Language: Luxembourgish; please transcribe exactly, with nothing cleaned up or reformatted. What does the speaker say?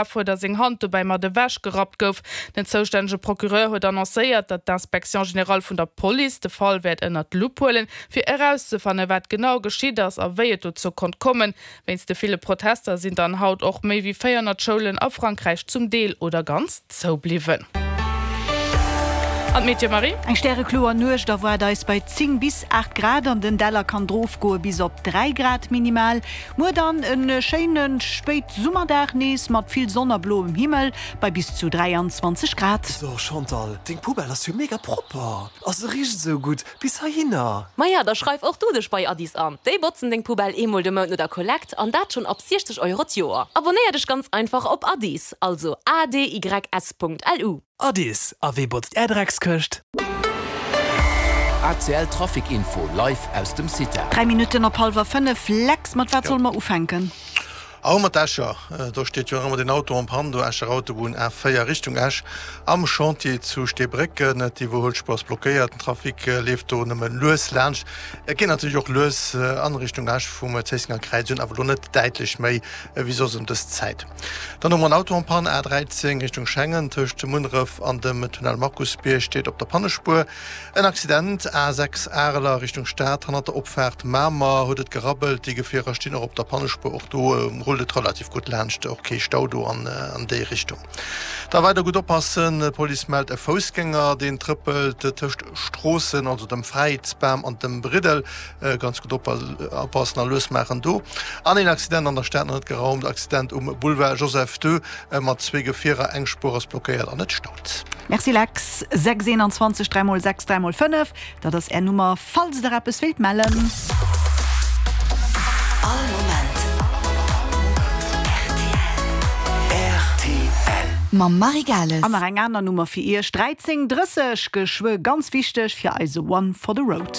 Fuer, datt seng Hand dobäi mat ewech gerappt gouf. Den zoustännege Procureur huet annoncéiert, datt d'Inspection générale vun der Police de Fall wäert ënnert d'Lupp huelen, fir erauszefannen, wat genau geschitt ass a wéi et dozou konnt kommen. Wéinst de ville Protester sinn dann haut och méi wéi véierhonnert Schoulen a Frankräich zum Deel oder ganz zou bliwwen. An d'Meteo, Marie? Eng stärekloer Nuecht erwaart eis bei zéng bis aacht Grad, an den Däller kann et rofgoe bis op dräi Grad minimal. Muer dann e schéine Spéitsummerdag nees mat vill Sonn a bloem Himmel bei bis zu dräianzwanzeg Grad. So Chantal, deng Poubelle ass jo mega propper a se richt esou gutt bis heihinner. Maja, da schreif och du dech bei Addis an. Déi botzen deng Poubelle eemol de Mount no der Kollekt an dat schonn ab siechzeg Euro d'Joer. Abonnéier dech ganz einfach op Addis, also A D Y S Punkt L U. Addis, a wee botzt är Dreckskëscht? A C L Trafic Info live aus dem Cita. Dräi Minutten op hallwer fënnef. Lex, mat wat solle mer ufänken? Au mat Escher, do steet jo nach ëmmer den Auto en panne, do Escher Autobunn A véier Richtung Esch am Chantier zu Steebrécken. D'Iwwerhuelspuer ass blockéiert, den Trafic leeft do nëmme lues laanscht. Et geet natierlech och lues an Richtung Esch vum Zéissenger Kräiz un, awer elo net däitlech méi ewéi soss ëm dës Zäit. Dann hu mer en Auto en panne, A dräizéng Richtung Schengen, tëscht Munneref an dem Tunnel Markusbierg steet op der Pannespuer en Accident. A sechs Areler Richtung Stad, hannert der Opfaart Mamer huet et gerabbelt, déi Gefierer stinn och op der Pannespuer, och do rullt et relativ gutt laanscht, och kee Stau do an déi Richtung. Da weider gutt oppassen, D'Police mellt e Foussgänger, deen trëppelt tëscht Stroossen, also dem Fräiheetsbam an dem Briddel. Ganz gutt oppassen a lues maachen do. An een Accident an der Stad nach net geraumt, Accident um Boulevard Joseph ii mat zwee Gefierer, eng Spuer ass blockéiert an et staut. Merci Lex. Sechs eenanzwanzeg dräi mol sechs dräi mol fënnef, dat ass Är Nummer, falls Der eppes wéilt mellen. All Moment rtl. Rtl. Mam Marie Gales. An nach eng aner Nummer fir Iech, dräizéng drësseg, geschwë ganz wichteg fir eise One for the Road.